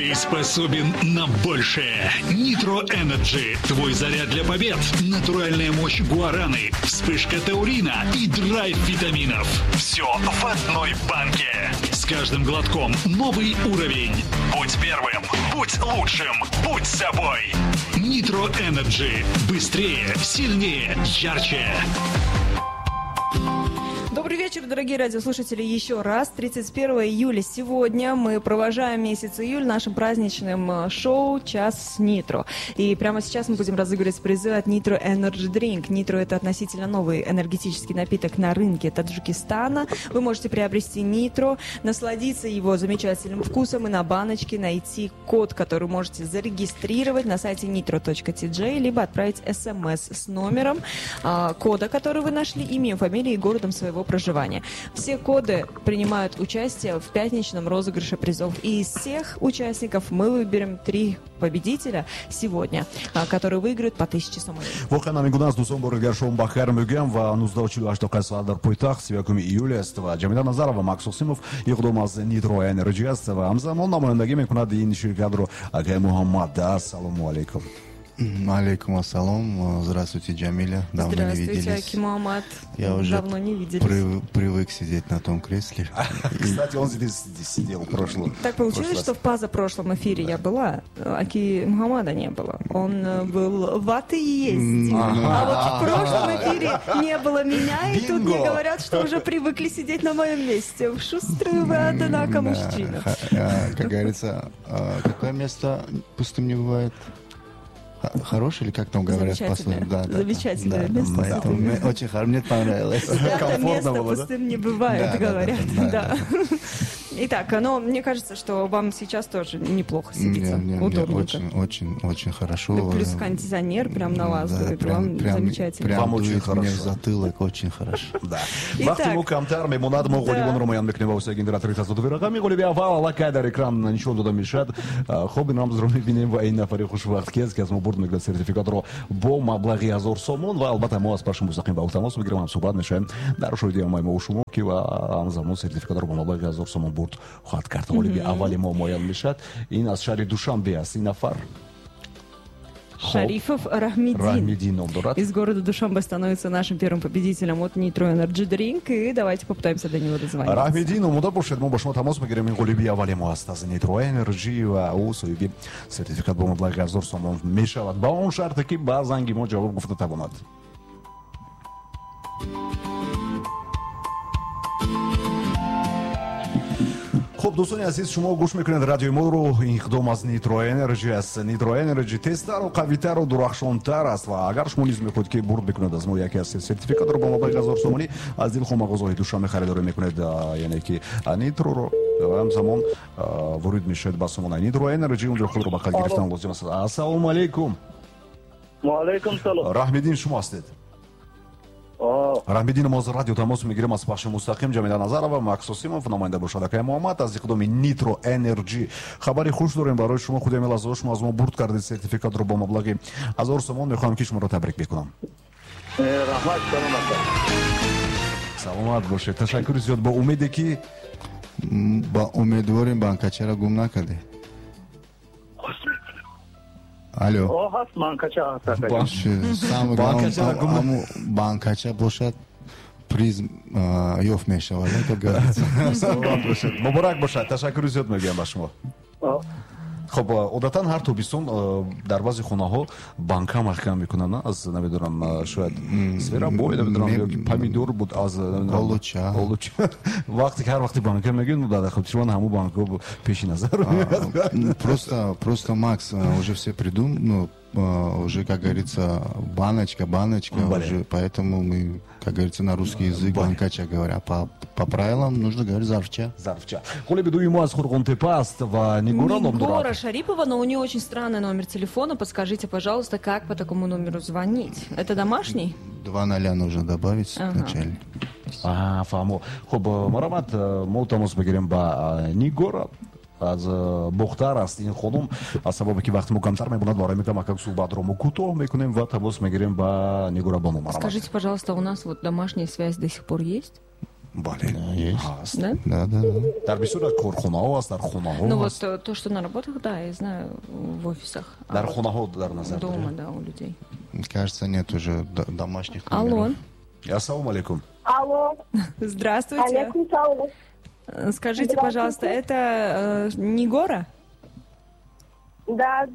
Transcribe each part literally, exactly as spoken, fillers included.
Ты способен на большее. Nitro Energy. Твой заряд для побед. Натуральная мощь гуараны, вспышка таурина и драйв витаминов. Все в одной банке. С каждым глотком новый уровень. Будь первым, будь лучшим, будь собой. Nitro Energy. Быстрее, сильнее, ярче. Добрый вечер, дорогие радиослушатели, еще раз. тридцать первого июля сегодня мы провожаем месяц июль нашим праздничным шоу «Час с Нитро». И прямо сейчас мы будем разыгрывать призы от Nitro Energy Drink. Nitro – это относительно новый энергетический напиток на рынке Таджикистана. Вы можете приобрести Nitro, насладиться его замечательным вкусом и на баночке найти код, который можете зарегистрировать на сайте nitro точка ти джей, либо отправить смс с номером а, кода, который вы нашли, именем, фамилией и городом своего проживания. Все коды принимают участие в пятничном розыгрыше призов. И из всех участников мы выберем три победителя сегодня, которые выиграют по тысяче сомони. Воқеан ҳамин аст, дӯстон, бори дигар шом бахайр мегӯям ва нуздаҳу чилу ҳашт дақиқа соат дар пойтахт, сию якуми июл аст ва Ҷамила Назарова, Макс Осимов иқдом аз Nitro Energy аст ва ҳамзамон намояндагӣ мекунад ин ширкатро акай Муҳаммад. Ассалому алайкум. Алейкум ассалом. Здравствуйте, Джамиля. Давно не Здравствуйте, виделись. Аки Муҳаммад. Я уже Давно не виделись. прив- привык сидеть на том кресле. Кстати, он здесь сидел в прошлом. Так получилось, что в позапрошлом эфире я была, Аки Мухаммада не было. Он э, был в отъезде. А вот в прошлом эфире не было меня, и тут мне Бинго! Говорят, что уже привыкли сидеть на моем месте. Шустрый вы, однако, Да, мужчина. ха- э, Как говорится, э, какое место пустым не бывает? Х- Хороший или как там говорят? Замечательное. Пословица? Да, да, да. Замечательное Да, место. Поэтому мне очень хоро- мне понравилось. Свято Комфортно место было, да? пустым не бывает, Да, да, да, говорят. да, Да. Итак, но мне кажется, что вам сейчас тоже неплохо сидится. Мне, мне- мне Удобненько. очень, очень, очень хорошо. Да, плюс кондиционер прям на вас Да, дует, прям, вам прям, замечательно. прям Вам очень дует мне в хорошо. Затылок, очень хорошо. Да. Итак. Вақти мо камтар мемонад, мо ғолибонро муайян мекунем ва воситаи генератори тасодуфи рақами ғолиби аввал аллакай дар экран нишон дода мешавад. Хоб, ин рамзро мебинем ва ин нафари хушвақт киест, ки аз мо бурд мекунад сертификатро бо маблағи ҳазор сомон ва албатта мо аз пахши мустақим ба ӯ тамос мегирем, ҳамсуҳбат мешавем дар шоҳиди ҳамаи мо шумо, ки ва ҳамзамон сертификатро бо маблағи ҳазор сомон бурд хоҳад кард. Ғолиби аввали мо муайян мешавад. Ин аз шаҳри Душанбе аст ин нафар. Шарифов Рахмидин. Раҳмидин ном дорад. Из города Душанбе становится нашим первым победителем от Nitro Energy Drink. И давайте попытаемся до него дозвониться. Раҳмидин, омода бошед, мо ба шумо тамос мегирем. Ин ғолиби аввали мо аст аз Nitro Energy ва ӯ соҳиби сертификат бо маблағи ҳазор сомон мешавад ба он шарте, ки ба занги мо ҷавоб гуфта тавонад. Хуб, дӯстони азиз, шумо гӯш мекунед радиои моро. Иқдом аз Nitro Energy аст. Nitro Energy тезтару қавитару дурахшонтар аст ва агар шумо низ мехоҳед, ки бурд мекунед аз мо яке аз сертификатро бо маблағи ҳазор сомонӣ, аз дилхоҳ мағозаҳои Душанбе харидорӣ мекунед, яъне ки Нитроро ва ҳамзамон ворид мешавед ба сомонаи Nitro Energy, унҷо худро ба қайд гирифтан лозим аст. Ассалому алайкум. Ваалайкум салом. Раҳмиддин шумо ҳастед? Раҳмиддин, мо аз радио тамос мегирем, аз пахши мустақим. Ҷамила Назарова, Макс Осимов, намоянда бошад акай Муҳаммад аз иқдоми Nitro Energy. Хабари хуш дорем барои шумо. Худи ҳамин лаҳзаҳо шумо аз мо бурд кардед сертификатро бо маблағи ҳазор сомон. Мехоҳам, ки шуморо табрик бикунам. Раҳмат, саломат. Саломат бошед, ташаккури зиёд. Бо умеде, ки Ба умедворем, банкачаро гум накардед. Алло. О, ҳаст, банкача ҳаст. Самое Банкачаро главное, гум ҳаму банкача бошад, приз а, ёфт мешавад, как говорится. Саломат бошед, муборак бошад, ташаккури зиёд мегӯям ба шумо. Хуб, одатан ҳар тобистон дар баъзе хонаҳо банка маҳкам мекунанд, на? Аз, намедонам, шояд зверобой, намедонам, ё ки помидор буд аз Олуча. Олуча. Вақте ки ҳар вақте банка мегӯем, дар хотири ман ҳамун банка пеши назар меояд. Просто, просто, Макс, уже все придум, ну, уже, как говорится, баночка, баночка, уже, поэтому мы, как говорится, на русский язык банкача говоря. По, по правилам нужно говорить зарфча. Зарфча. Ғолиби дуюми мо аз Қурғонтепа аст ва Нигора ном Нигора дорад. Шарипова, но у нее очень странный номер телефона. Подскажите, пожалуйста, как по такому номеру звонить? Это домашний? Два ноля нужно добавить Ага. в начале. А, фаҳмо. Хуб, марҳамат, мо тамос мегирем ба Нигора, аз Бохтар аст ин хонум. Аз сабабе ки вақти мо камтар мемонад, барои мекунам, акак суҳбатро мо кӯтоҳ мекунем ва тамос мегирем ба Нигора бону. Марҳамат. Скажите, пожалуйста, у нас вот домашняя связь до сих пор есть? Бале. Есть. Да? Да, да, да. Дар бисёр корхонаҳо аст, дар хонаҳо. Ну вот то, что на работах, да, я знаю, в офисах. Дар хонаҳо дар назар. Дома, да, у людей. Кажется, нет уже домашних номеров. Алло. Ассаламу алейкум. Алло. Здравствуйте. Алейкум салам. Скажите, пожалуйста, это Нигора? Да.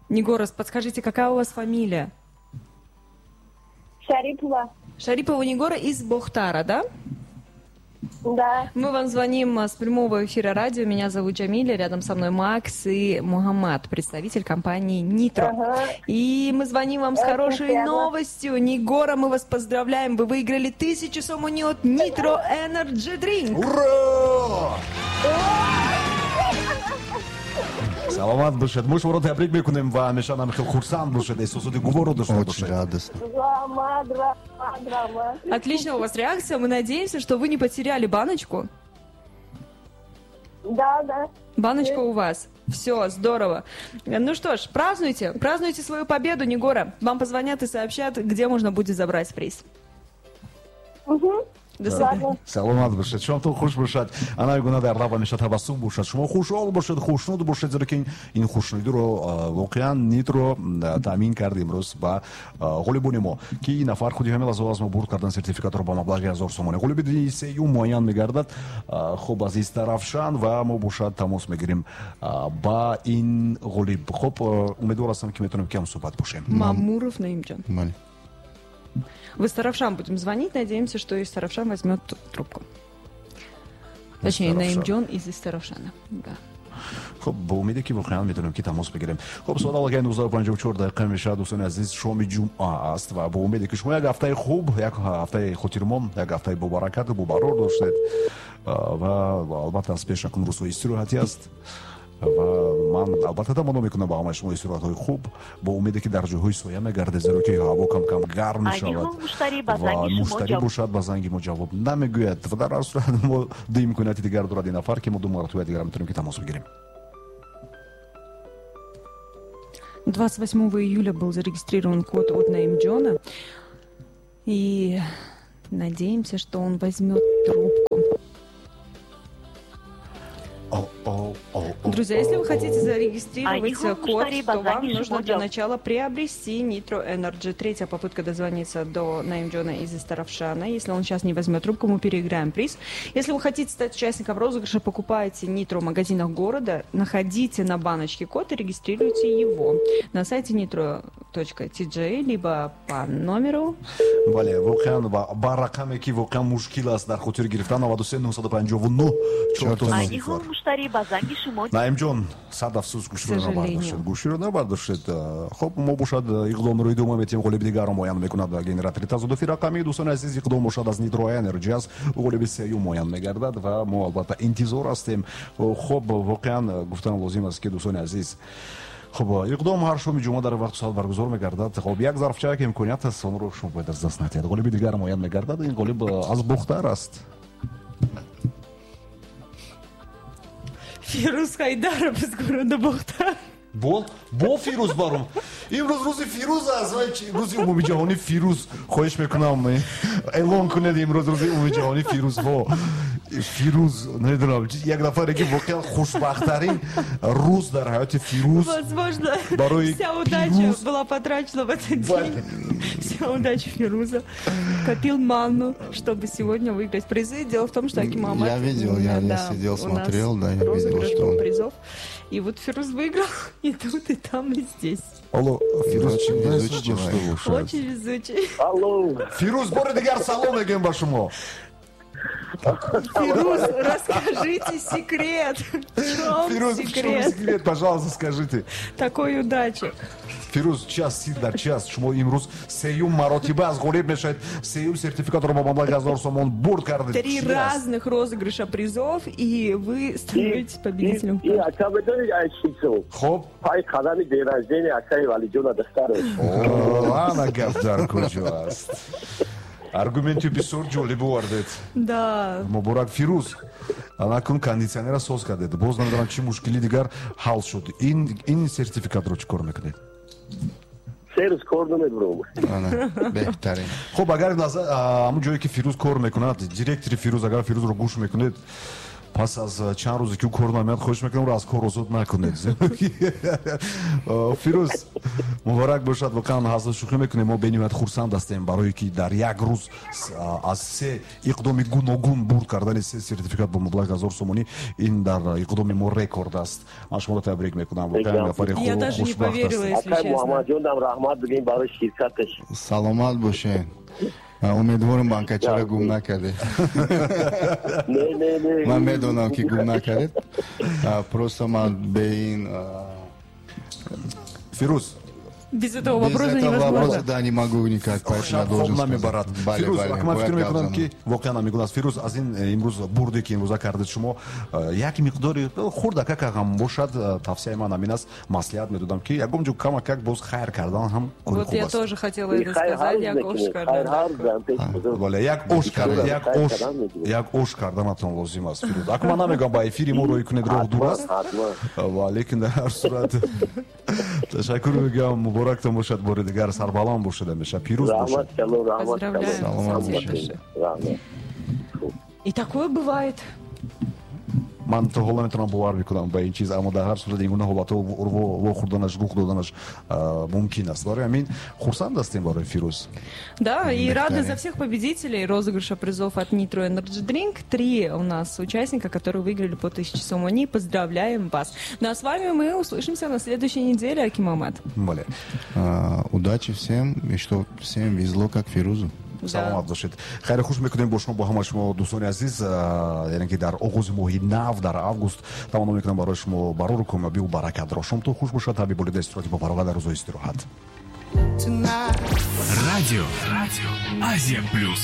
Нигора, подскажите, какая у вас фамилия? Шарипова. Шарипова Нигора из Бохтара, да? Да. Мы вам звоним с прямого эфира радио. Меня зовут Джамиля, рядом со мной Макс и Мухаммад, представитель компании Нитро. Ага. И мы звоним вам с Очень хорошей приятно. новостью. Нигора, мы вас поздравляем. Вы выиграли тысячу сомони от Nitro Energy Drink. Ура! Саломат бошед. Мо шуморо табрик мекунем ва ҳамеша ҳам хеле хурсанд бошед, эҳсосоти гуворо дошта бошед. Очень радостно. Отлично у вас реакция. Мы надеемся, что вы не потеряли баночку. Да, да. Баночка у вас. Все, здорово. Ну что ж, празднуйте. Празднуйте свою победу, Нигора. Вам позвонят и сообщат, где можно будет забрать приз. Угу. Саломат бошед, шомтон хуш бошад. Ана гуна дар лаб ҳамеша табассум бошад. Шумо хушҳол бошед, хушнуд бошед, зеро ки ин хушнудиро воқеан Нитро таъмин кард имрӯз ба ғолибони мо, ки ин нафар худи ҳамин лаҳза аз мо бурд кардан сертификатро ба маблағи ҳазор сомонӣ. Ғолиби сеюм муайян мегардад. Хуб, аз Истаравшан ва мо бошад тамос мегирем ба ин ғолиб. Хуб, умедвор ҳастам, ки метавонем кам суҳбат бошем. Мамуров Наимҷон. В Истаравшан будем звонить. Надеемся, что Истаравшан возьмет трубку. Точнее, Наимджон из Истаравшана. Да. Хуб, бо умеде ки воқеан метавонем ки тамос бигирем. Хуб, соат аллакай нуздаҳу панҷоҳу чор дақиқа мешавад, дӯстони азиз, шоми ҷумъа аст ва бо умеде ки шумо як ҳафтаи хуб, як ҳафтаи хотирмон, як ҳафтаи бобаракату бобарор доштед ва албатта аз пеш акун рӯзҳои истироҳатӣ аст. Ва ман албатта таманно мекунам ба ҳамаи шумо истироҳатҳои хуб, бо умеде ки дар ҷойҳои соя мегардед, зеро ки ҳаво кам-кам гарм мешавад ва муштарӣ бошад ба занги мо ҷавоб намегӯяд. Ва дар ҳар сурат мо ду имконияти дигар дорад ин нафар, ки мо ду маротиба дигар метавонем ки тамос бигирем. двадцать восьмого июля был зарегистрирован код от Наимджона, и надеемся, что он возьмет трубку. Друзья, если вы хотите зарегистрировать код, то вам нужно для начала приобрести Nitro Energy. Третья попытка дозвониться до Наимджона из Истаравшана. Если он сейчас не возьмет трубку, мы переиграем приз. Если вы хотите стать участником розыгрыша, покупайте Nitro в магазинах города, находите на баночке код и регистрируйте его на сайте nitro точка ти джей, либо по номеру. Бале, воқеан ба рақаме ки воқеан мушкил аст дар хотир гирифтан, наваду се нӯҳсаду панҷоҳу нӯҳ чор сифр. Наимҷон, сад афсӯс, гӯширо набардоштед. Гӯширо набардоштед. Хуб, мо бошад иқдомро идома метиҳем, ғолиби дигарро муайян мекунад ва генератори тазодуфи рақамӣ. Дӯстони азиз, иқдом бошад аз Nitro Energy аст, ғолиби сеюм муайян мегардад ва мо албатта интизор ҳастем. Хуб, воқеан гуфтан лозим аст, ки дӯстони азиз, хуб, иқдом ҳар шоми ҷумъа дар вақту соат баргузор мегардад. Хуб, як зарфча ки имконият аст, онро шумо бояд аз даст надиҳед. Ғолиби дигар муайян мегардад. Ин ғолиб аз Бохтар аст. Фирӯз Хайдаров из города Бохтар. Бо, бо Фирӯз баром. Имрӯз рӯзи Фирӯз аст. Рӯзи умумиҷаҳонии Фирӯз. Хоҳиш мекунам, эълон кунед имрӯз рӯзи умумиҷаҳонии Фирӯзҳо. Фирӯз, намедонам, як нафаре ки воқеан хушбахттарин рӯз дар ҳаёти Фирӯз. Возможно, вся удача была потрачена в этот день. Вся удача Фируза. Копил манну, чтобы сегодня выиграть призы. Дело в том, что Аким Мамад... Я видел, я, я сидел, смотрел, да, я видел, что он... призов. И вот Фирӯз выиграл и тут, и там, и здесь. Алло, Фирӯз, очень везучий человек. Очень везучий. Алло. Фирӯз, бори дигар салом мегӯем ба шумо. Фирӯз, расскажите секрет. В чем Фирӯз, секрет? В чем секрет, пожалуйста, скажите. Такой удачи. Фирӯз, час, сир дар час. Шумо имрӯз сеюм маротиба аз ғолиб мешавед. Сеюм сертификатро бо маблағи ҳазор сомон бурд кардед. Три разных розыгрыша призов, и вы становитесь победителем. И ака медонед, ай чизо? Хоб. Пай қадами день рождения акаи Валиҷона дастаров. О, ана гап дар куҷо аст. Аргументи бисёр ҷолиб овардед. Да. Муборак, Фирӯз. Анакун кондитсионера соз кардед. Боз намедонам чӣ мушкили дигар ҳал шуд. Ин ин сертификатро чӣ кор мекунед? Се рӯз кор намебурам. Беҳтарин. Хуб, агар ҳамун ҷое ки Фирӯз кор мекунад, директори Фирӯз, агар Фирӯзро гӯш мекунед, пас аз чанд рӯзе ки ӯ кор намеяд, хоҳиш мекунам ӯро аз кор озод накунед. Фирӯз, муборак бошад, воқеан ҳазл шӯхӣ мекунем, мо бениҳоят хурсанд ҳастем барое ки дар як рӯз аз се иқдоми гуногун бурд кардани се сертификат бо маблағи ҳазор сомонӣ, ин дар иқдоми мо рекорд аст. Ман шуморо табрик мекунам, воқеан нафари хушбахт ҳастед. Акай Муҳаммадҷонам раҳмат бигем барои ширкаташ. Саломат бошед. Умедворам банкачаро гум накардед. Не, не, не. Ман медонам ки гум накардед. Просто ман бе ин Фирӯз, без этого вопроса невозможно. Вопроса, да, не могу никак, поэтому я должен сказать. Фирӯз, ман фикр мекунам ки воқеан ҳамин аст. Фирӯз, аз ин имрӯз бурде ки имрӯза кардед шумо, як миқдори хурдакак ҳам бошад, тавсияи ман ҳамин аст, маслиҳат медодам ки ягон ҷо камакак боз хайр кардан ҳам кори хуб аст. Вот я тоже хотела это сказать, як ош кардан. Бале, як ош кардан, як ош, як ош карданатон лозим аст, Фирӯз. Аку ман намегӯям ба эфири мо рӯй кунед, роҳ дур аст, валекин дар ҳар сурат ташаккур мегӯям, муборактон бошад, бори дигар сарбаланд бошед ҳамеша, пирӯз бошед. Поздравляю. И такое бывает. Ман то ҳоло метавонам бовар мекунам ба ин чиз, аммо дар ҳар сурат ин гуна ҳолатҳо вохӯрданаш, рух доданаш мумкин аст. Барои ҳамин хурсанд ҳастем барои Фирӯз. Да, и рады за всех победителей розыгрыша призов от Nitro Energy Drink. Три у нас участника, которые выиграли по тысяче сомони. Поздравляем вас. Ну а с вами мы услышимся на следующей неделе, Аким Амад. Бале. Удачи всем, и что всем везло, как Фирузу. Саломат бошед. Хайри хуш мекунем бо шумо, бо ҳама шумо дӯстони азиз, яъне ки дар оғози моҳи нав, дар август таманно мекунам барои шумо барору комёбиву баракатро. Шомтон хуш бошад, ҳабиб болида истироҳати бо фароғат дар рӯзҳои истироҳат. Радио, Радио Азия Плюс.